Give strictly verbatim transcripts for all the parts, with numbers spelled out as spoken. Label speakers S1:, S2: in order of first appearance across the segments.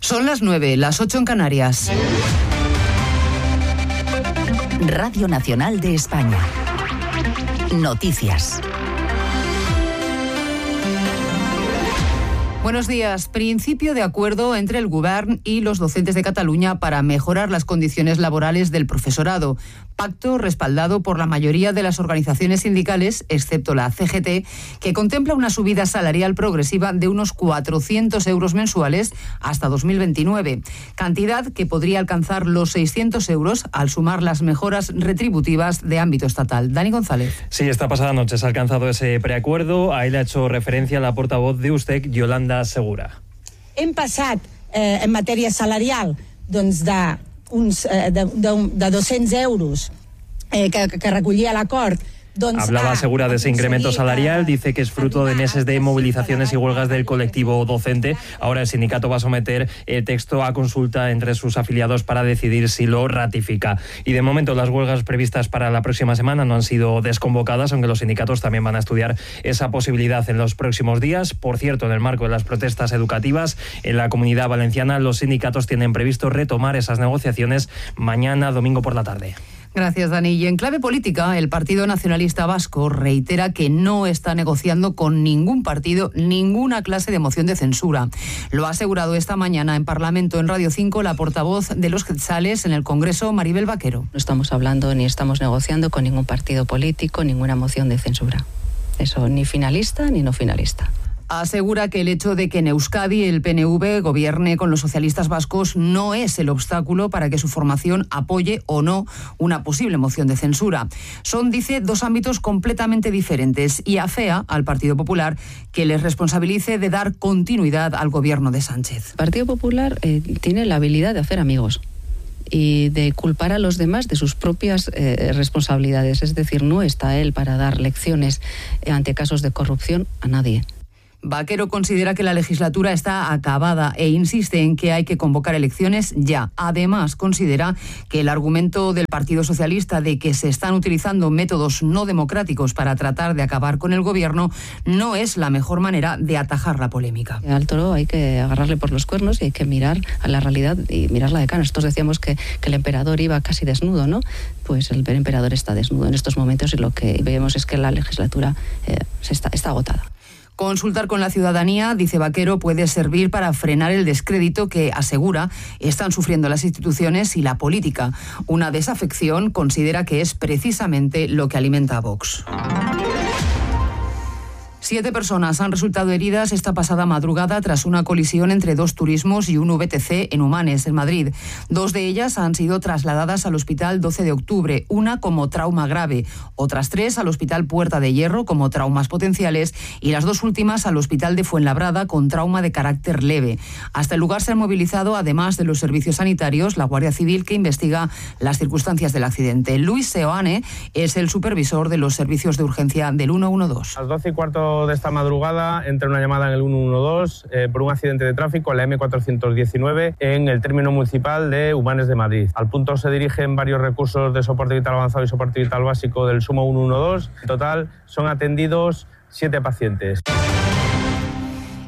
S1: Son las nueve, las ocho en Canarias.
S2: Radio Nacional de España. Noticias.
S1: Buenos días. Principio de acuerdo entre el Govern y los docentes de Cataluña para mejorar las condiciones laborales del profesorado. Pacto respaldado por la mayoría de las organizaciones sindicales, excepto la C G T, que contempla una subida salarial progresiva de unos cuatrocientos euros mensuales hasta dos mil veintinueve, cantidad que podría alcanzar los seiscientos euros al sumar las mejoras retributivas de ámbito estatal. Dani González.
S3: Sí, esta pasada noche se ha alcanzado ese preacuerdo. Ahí le ha hecho referencia la portavoz de U S T E C, Yolanda Segura.
S4: Hem passat eh, en matèria salarial doncs de, uns, eh, de, de, de dos-cents euros eh, que, que recollia l'acord.
S3: Hablaba Segura de ese incremento salarial, dice que es fruto de meses de movilizaciones y huelgas del colectivo docente. Ahora el sindicato va a someter el texto a consulta entre sus afiliados para decidir si lo ratifica. Y de momento las huelgas previstas para la próxima semana no han sido desconvocadas, aunque los sindicatos también van a estudiar esa posibilidad en los próximos días. Por cierto, en el marco de las protestas educativas en la Comunidad Valenciana, los sindicatos tienen previsto retomar esas negociaciones mañana, domingo por la tarde.
S1: Gracias, Dani. Y en clave política, el Partido Nacionalista Vasco reitera que no está negociando con ningún partido ninguna clase de moción de censura. Lo ha asegurado esta mañana en Parlamento, en Radio cinco, la portavoz de los Quetzales en el Congreso, Maribel Vaquero.
S5: No estamos hablando ni estamos negociando con ningún partido político ninguna moción de censura. Eso, ni finalista ni no finalista.
S1: Asegura que el hecho de que en Euskadi el P N V gobierne con los socialistas vascos no es el obstáculo para que su formación apoye o no una posible moción de censura. Son, dice, dos ámbitos completamente diferentes y afea al Partido Popular que les responsabilice de dar continuidad al gobierno de Sánchez.
S5: El Partido Popular eh, tiene la habilidad de hacer amigos y de culpar a los demás de sus propias eh, responsabilidades. Es decir, no está él para dar lecciones ante casos de corrupción a nadie.
S1: Vaquero considera que la legislatura está acabada e insiste en que hay que convocar elecciones ya. Además, considera que el argumento del Partido Socialista de que se están utilizando métodos no democráticos para tratar de acabar con el gobierno no es la mejor manera de atajar la polémica.
S5: Al toro hay que agarrarle por los cuernos y hay que mirar a la realidad y mirarla de cara. Nosotros decíamos que, que el emperador iba casi desnudo, ¿no? Pues el emperador está desnudo en estos momentos y lo que vemos es que la legislatura eh, se está, está agotada.
S1: Consultar con la ciudadanía, dice Vaquero, puede servir para frenar el descrédito que, asegura, están sufriendo las instituciones y la política. Una desafección considera que es precisamente lo que alimenta a Vox. Siete personas han resultado heridas esta pasada madrugada tras una colisión entre dos turismos y un V T C en Humanes, en Madrid. Dos de ellas han sido trasladadas al Hospital doce de octubre, una como trauma grave, otras tres al Hospital Puerta de Hierro como traumas potenciales y las dos últimas al Hospital de Fuenlabrada con trauma de carácter leve. Hasta el lugar se han movilizado, además de los servicios sanitarios, la Guardia Civil que investiga las circunstancias del accidente. Luis Seoane es el supervisor de los servicios de urgencia del ciento doce.
S6: A las doce y cuarto de esta madrugada entra una llamada en el ciento doce eh, por un accidente de tráfico en la eme cuatrocientos diecinueve en el término municipal de Humanes de Madrid. Al punto se dirigen varios recursos de soporte vital avanzado y soporte vital básico del SUMO ciento doce. En total son atendidos siete pacientes.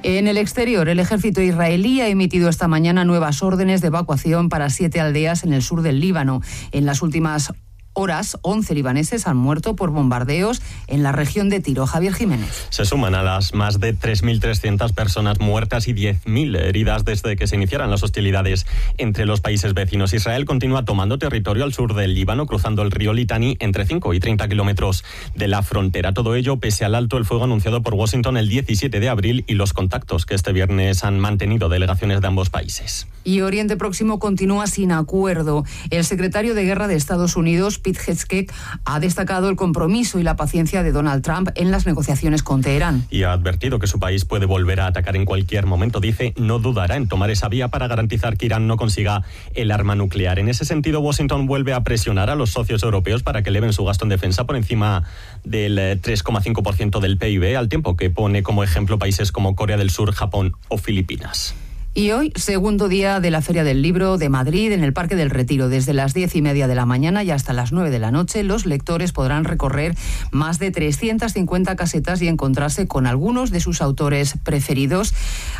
S1: En el exterior, el ejército israelí ha emitido esta mañana nuevas órdenes de evacuación para siete aldeas en el sur del Líbano. En las últimas horas, once libaneses han muerto por bombardeos en la región de Tiro. Javier Jiménez.
S7: Se suman a las más de tres mil trescientas personas muertas y diez mil heridas desde que se iniciaran las hostilidades entre los países vecinos. Israel continúa tomando territorio al sur del Líbano, cruzando el río Litani entre cinco y treinta kilómetros de la frontera. Todo ello pese al alto el fuego anunciado por Washington el diecisiete de abril y los contactos que este viernes han mantenido delegaciones de ambos países.
S1: Y Oriente Próximo continúa sin acuerdo. El secretario de Guerra de Estados Unidos, Pete Hegseth, ha destacado el compromiso y la paciencia de Donald Trump en las negociaciones con Teherán.
S7: Y ha advertido que su país puede volver a atacar en cualquier momento. Dice, no dudará en tomar esa vía para garantizar que Irán no consiga el arma nuclear. En ese sentido, Washington vuelve a presionar a los socios europeos para que eleven su gasto en defensa por encima del tres coma cinco por ciento del P I B, al tiempo que pone como ejemplo países como Corea del Sur, Japón o Filipinas.
S1: Y hoy, segundo día de la Feria del Libro de Madrid en el Parque del Retiro. Desde las diez y media de la mañana y hasta las nueve de la noche, los lectores podrán recorrer más de trescientas cincuenta casetas y encontrarse con algunos de sus autores preferidos.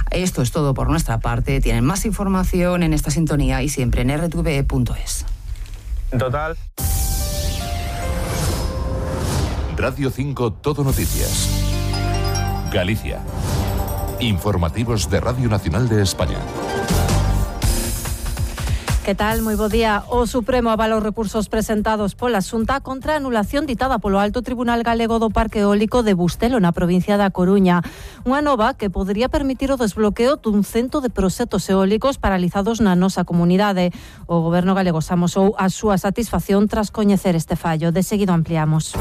S1: Esto es todo por nuestra parte. Tienen más información en esta sintonía y siempre en r t v e punto es.
S6: En total.
S8: Radio cinco Todo Noticias. Galicia. Informativos de Radio Nacional de España.
S9: Que tal? Moi bo día. O Supremo avala os recursos presentados pola Xunta contra a anulación ditada polo Alto Tribunal Galego do Parque Eólico de Bustelo, na provincia da Coruña. Unha nova que podería permitir o desbloqueo dun cento de proxectos eólicos paralizados na nosa comunidade. O Goberno galego amosou a súa satisfacción tras coñecer este fallo. De seguido ampliamos.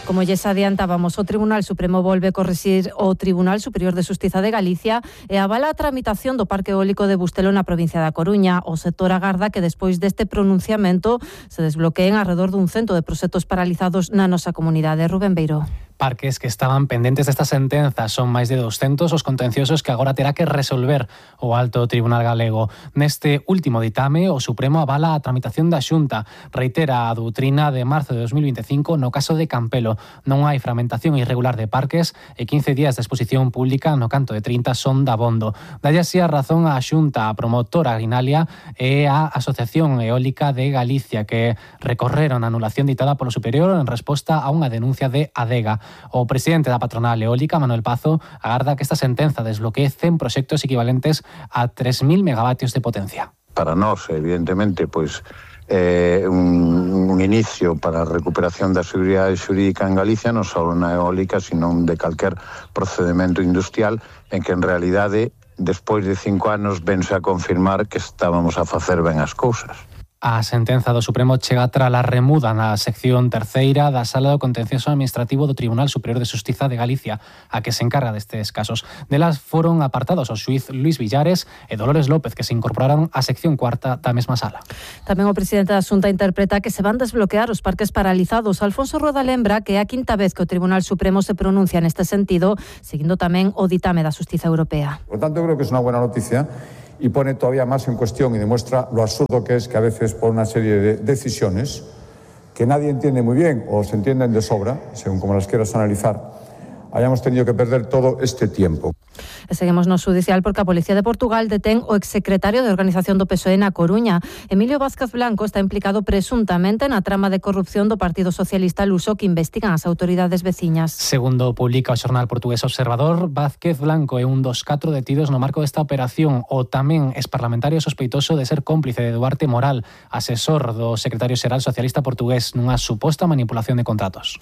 S9: Como lles adiantábamos, o Tribunal Supremo volve corrixir o Tribunal Superior de Xustiza de Galicia e avala a tramitación do Parque Eólico de Bustelo na provincia da Coruña. O sector agarda que despois deste pronunciamento se desbloqueen alrededor dun cento de proxectos paralizados na nosa comunidade. Rubén Beiró.
S10: Parques que estaban pendentes desta sentenza son máis de doscentos os contenciosos que agora terá que resolver o Alto Tribunal Galego. Neste último ditame, o Supremo avala a tramitación da Xunta. Reitera a doutrina de marzo de dos mil veinticinco no caso de Campelo. Non hai fragmentación irregular de parques e quince días de exposición pública no canto de trinta son dabondo. Dalle así a razón a Xunta, a promotora Grinalia e a Asociación Eólica de Galicia, que recorreron a anulación ditada polo Superior en resposta a unha denuncia de Adega. O presidente da patronal eólica, Manuel Pazo, agarda que esta sentenza desbloquee cen proxectos equivalentes a tres mil megavatios de potencia.
S11: Para nós, evidentemente, pois eh, un, un inicio para a recuperación da seguridade xurídica en Galicia, non só na eólica, sino de calquer procedimento industrial en que en realidade, despois de cinco anos, vense a confirmar que estábamos a facer ben as cousas.
S10: A sentenza do Supremo chega tras a remuda na sección terceira da Sala do Contencioso Administrativo do Tribunal Superior de Xustiza de Galicia, a que se encarga destes casos. Delas foron apartados o xuíz Luis Villares e Dolores López, que se incorporaron á sección cuarta da mesma sala.
S9: Tamén o presidente da Xunta interpreta que se van desbloquear os parques paralizados. Alfonso Rueda lembra que é a quinta vez que o Tribunal Supremo se pronuncia neste sentido, seguindo tamén o ditame da Xustiza Europea.
S12: Por tanto, creo que es unha buena noticia y pone todavía más en cuestión y demuestra lo absurdo que es que a veces por una serie de decisiones que nadie entiende muy bien o se entienden de sobra, según como las quieras analizar, hayamos tenido que perder todo este tiempo.
S9: E seguimos no xudicial porque a Policía de Portugal detén o exsecretario de Organización do P S O E na Coruña. Emilio Vázquez Blanco está implicado presuntamente na trama de corrupción do Partido Socialista luso que investigan as autoridades veciñas.
S10: Segundo publica o xornal portugués Observador, Vázquez Blanco é un dos catro detidos no marco desta operación. O tamén exparlamentario sospeitoso de ser cómplice de Duarte Moral, asesor do secretario xeral socialista portugués nunha suposta manipulación de contratos.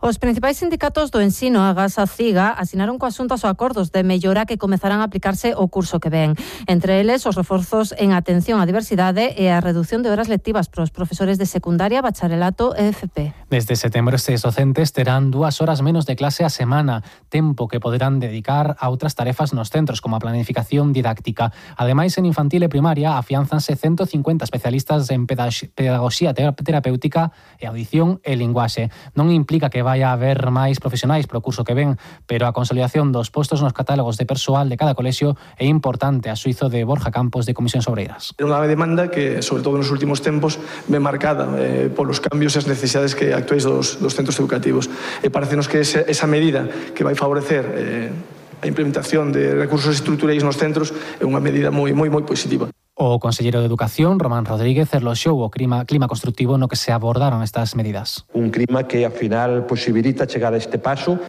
S9: Os principais sindicatos do ensino, Agas a Ciga, asinaron coas xuntas os acordos de mellora que comezarán a aplicarse o curso que ven. Entre eles, os reforzos en atención á diversidade e a reducción de horas lectivas para os profesores de secundaria, bacharelato e F P.
S10: Desde setembro, estes docentes terán dúas horas menos de clase a semana, tempo que poderán dedicar a outras tarefas nos centros, como a planificación didáctica. Ademais, en infantil e primaria, afianzanse ciento cincuenta especialistas en pedagogía terapéutica e audición e linguaxe. Non implica que vaya a haber máis profesionais pro curso que ven, pero a consolidación dos postos nos catálogos de persoal de cada colexio é importante, a suizo de Borja Campos de Comisións Obreiras.
S13: É unha demanda que, sobre todo nos últimos tempos, ven marcada eh, polos cambios e as necesidades que actuais dos, dos centros educativos. E parecenos que esa, esa medida que vai favorecer eh, a implementación de recursos estruturais nos centros é unha medida moi, moi, moi positiva.
S10: O conselleiro de Educación, Román Rodríguez, eloxou o clima, clima constructivo no que se abordaron estas medidas.
S14: Un clima que, ao final, posibilita chegar a este paso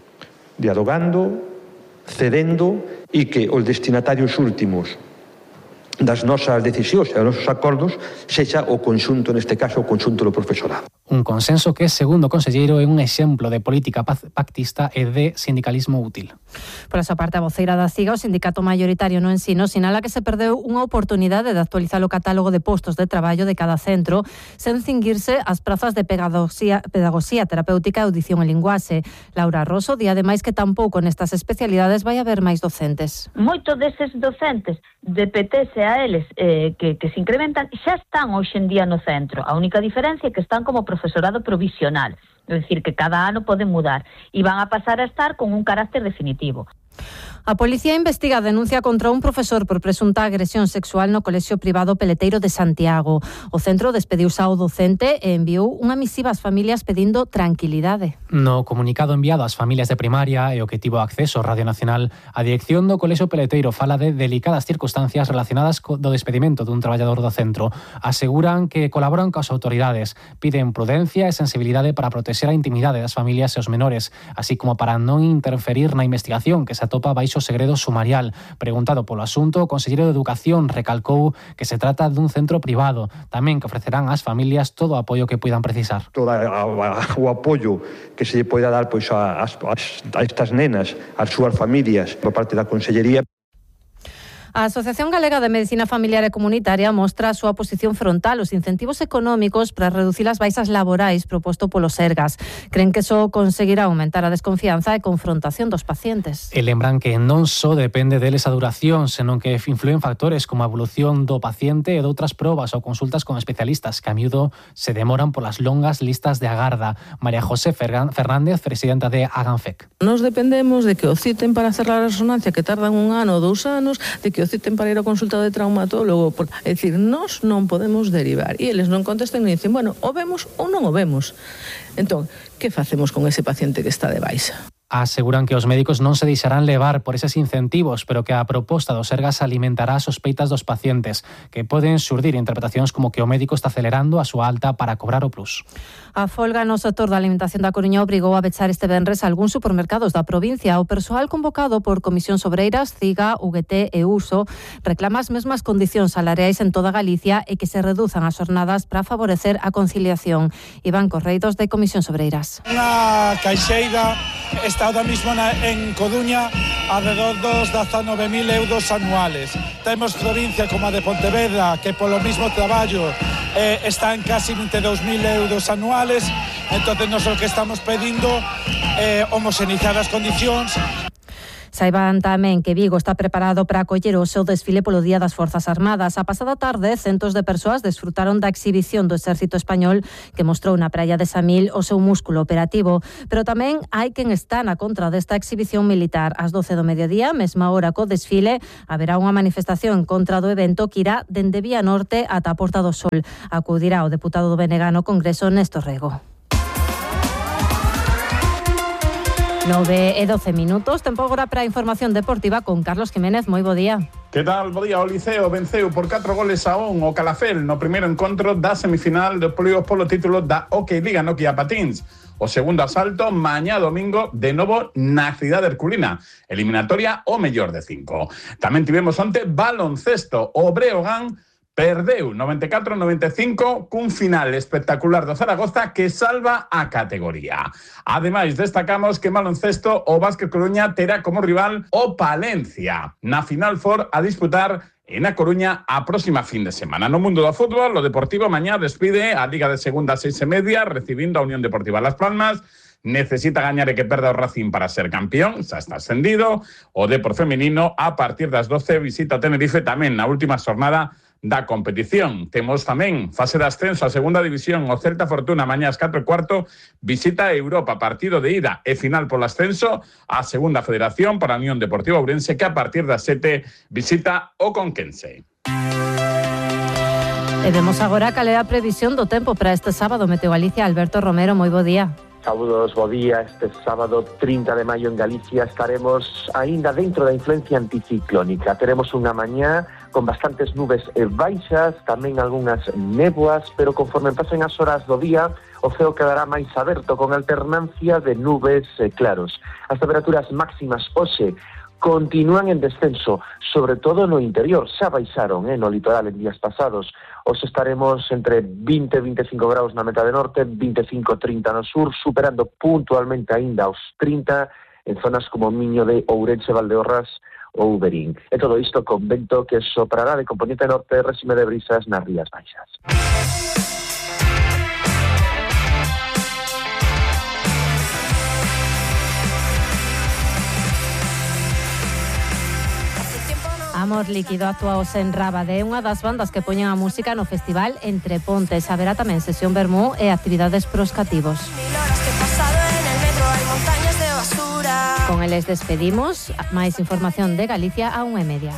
S14: dialogando, cedendo e que os destinatarios últimos das nosas decisións e dos nosos acordos sexa o conxunto, neste caso, o conxunto do profesorado.
S10: Un consenso que, segundo o conselleiro, é un exemplo de política pactista e de sindicalismo útil.
S9: Por esa parte, a voceira da CIGA, o sindicato mayoritario no ensino, sinala que se perdeu unha oportunidade de actualizar o catálogo de postos de traballo de cada centro sen cinguirse as prazas de pedagogía, pedagogía terapéutica e audición e linguaxe. Laura Rosso di ademais que tampouco nestas especialidades vai haber máis docentes.
S15: Moitos deses docentes de P T S a eles eh, que, que se incrementan xa están hoxe en día no centro. A única diferencia é que están como profesorado provisional, é dicir, que cada ano poden mudar e van a pasar a estar con un carácter definitivo.
S9: A policía investiga a denuncia contra un profesor por presunta agresión sexual no colexio privado Peleteiro de Santiago. O centro despediuse ao docente e enviou unha misiva ás familias pedindo tranquilidade.
S10: No comunicado enviado ás familias de primaria e o que tivo acceso Radio Nacional, a dirección do colexio Peleteiro fala de delicadas circunstancias relacionadas co do despedimento dun traballador do centro. Aseguran que colaboran coas autoridades, piden prudencia e sensibilidade para protexer a intimidade das familias e os menores, así como para non interferir na investigación que se atopa baixo segredo sumarial. Preguntado polo asunto, o conselleiro de Educación recalcou que se trata dun centro privado, tamén que ofrecerán ás familias todo o apoio que puidan precisar.
S14: Todo o apoio que se lle poida dar pois, a, a, a estas nenas, ás súas familias, por parte da Consellería.
S9: A Asociación Galega de Medicina Familiar e Comunitaria mostra a súa posición frontal aos incentivos económicos para reducir as baixas laborais proposto polo Sergas. Creen que só conseguirá aumentar a desconfianza e confrontación dos pacientes.
S10: E lembran que non só depende deles a duración, senón que influen factores como a evolución do paciente e doutras probas ou consultas con especialistas que a miúdo se demoran polas longas listas de agarda. María José Fernández, presidenta de Aganfec.
S16: Nos dependemos de que o citen para hacer a resonancia, que tardan un ano ou dous anos, de que o citen para ir ao consulta de traumatólogo. É dicir, nós non podemos derivar. E eles non contestan e dicen, bueno, o vemos ou non o vemos. Entón, que facemos con ese paciente que está de baixa?
S10: Aseguran que os médicos non se deixarán levar por eses incentivos, pero que a proposta do Sergas alimentará as sospeitas dos pacientes, que poden xurdir interpretacións como que o médico está acelerando a súa alta para cobrar o plus.
S9: A folga no sector da alimentación da Coruña obrigou a pechar este venres algúns supermercados da provincia. O persoal convocado por Comisións Obreiras, CIGA, U G T e Uso reclama as mesmas condicións salariais en toda Galicia e que se reduzan as jornadas para favorecer a conciliación. Iván Correidos, de Comisións Obreiras.
S17: Unha caixeira está ahora mismo na, en Coruña alrededor dos dezanove mil euros anuales. Temos provincia como a de Pontevedra que polo mismo traballo eh, está en casi vinte e dous mil euros anuales. Entonces nosotros que estamos pedindo eh, homoxeneizar as condicións.
S9: Saiban tamén que Vigo está preparado para acoller o seu desfile polo Día das Forzas Armadas. A pasada tarde, centos de persoas desfrutaron da exhibición do Exército Español que mostrou na praia de Samil o seu músculo operativo. Pero tamén hai quen está na contra desta exhibición militar. Ás doce do mediodía, mesma hora co desfile, haberá unha manifestación en contra do evento que irá dende Vía Norte ata a Porta do Sol. Acudirá o deputado do B N G no Congreso, Néstor Rego. nove e doce minutos, tempo agora para a información deportiva con Carlos Jiménez. Moi bo día.
S18: Que tal? Bo día. O Liceo venceu por catro goles a un o Calafel no primeiro encontro da semifinal de playoff polo título da Hockey Liga Nokia Patins. O segundo asalto mañá domingo de novo na cidade herculina. Eliminatoria o mellor de cinco. Tamén tivemos onte baloncesto. O Breogán perdeu noventa e catro a noventa e cinco cun final espectacular do Zaragoza que salva a categoría. Ademais, destacamos que en baloncesto o Vázquez Coruña terá como rival o Palencia na Final Four a disputar en A Coruña a próxima fin de semana. No mundo do fútbol, o Deportivo mañá despide a Liga de Segunda a seis e media recibindo a Unión Deportiva Las Palmas. Necesita gañar e que perda o Racing para ser campeón, xa está ascendido. O Depor feminino a partir das doce visita o Tenerife tamén na última xornada da competición. Temos tamén fase de ascenso a segunda división. O Celta Fortuna mañá ás catro e cuarto visita a Europa, partido de ida e final polo ascenso a segunda federación para a Unión Deportiva Ourense que a partir das sete visita o Conquense.
S9: E vemos agora cal é a previsión do tempo para este sábado. Meteo Galicia, Alberto Romero, moi bo día.
S19: Saúdos, bo día. Este sábado trinta de maio en Galicia estaremos aínda dentro da influencia anticiclónica. Teremos unha mañá con bastantes nubes e baixas, tamén algunhas néboas, pero conforme pasen as horas do día, o ceo quedará máis aberto con alternancia de nubes e claros. As temperaturas máximas hoxe continúan en descenso, sobre todo no interior. Xa baixaron eh, no litoral en días pasados. Os estaremos entre vinte e vinte e cinco graus na metade norte, vinte e cinco a trinta no sur, superando puntualmente aínda os trinta en zonas como Miño de Ourense, Valdeorras ou Verín. E todo isto con vento que soprará de componente norte, réxime de brisas nas rías baixas.
S9: Amor Líquido actuaos en Rábade, unha das bandas que poñen a música no festival Entre Pontes. Haberá tamén sesión vermú e actividades pros cativos.
S20: Mil horas que he pasado en el metro, hay montañas de basura.
S9: Con eles despedimos. Máis información de Galicia a unha e media.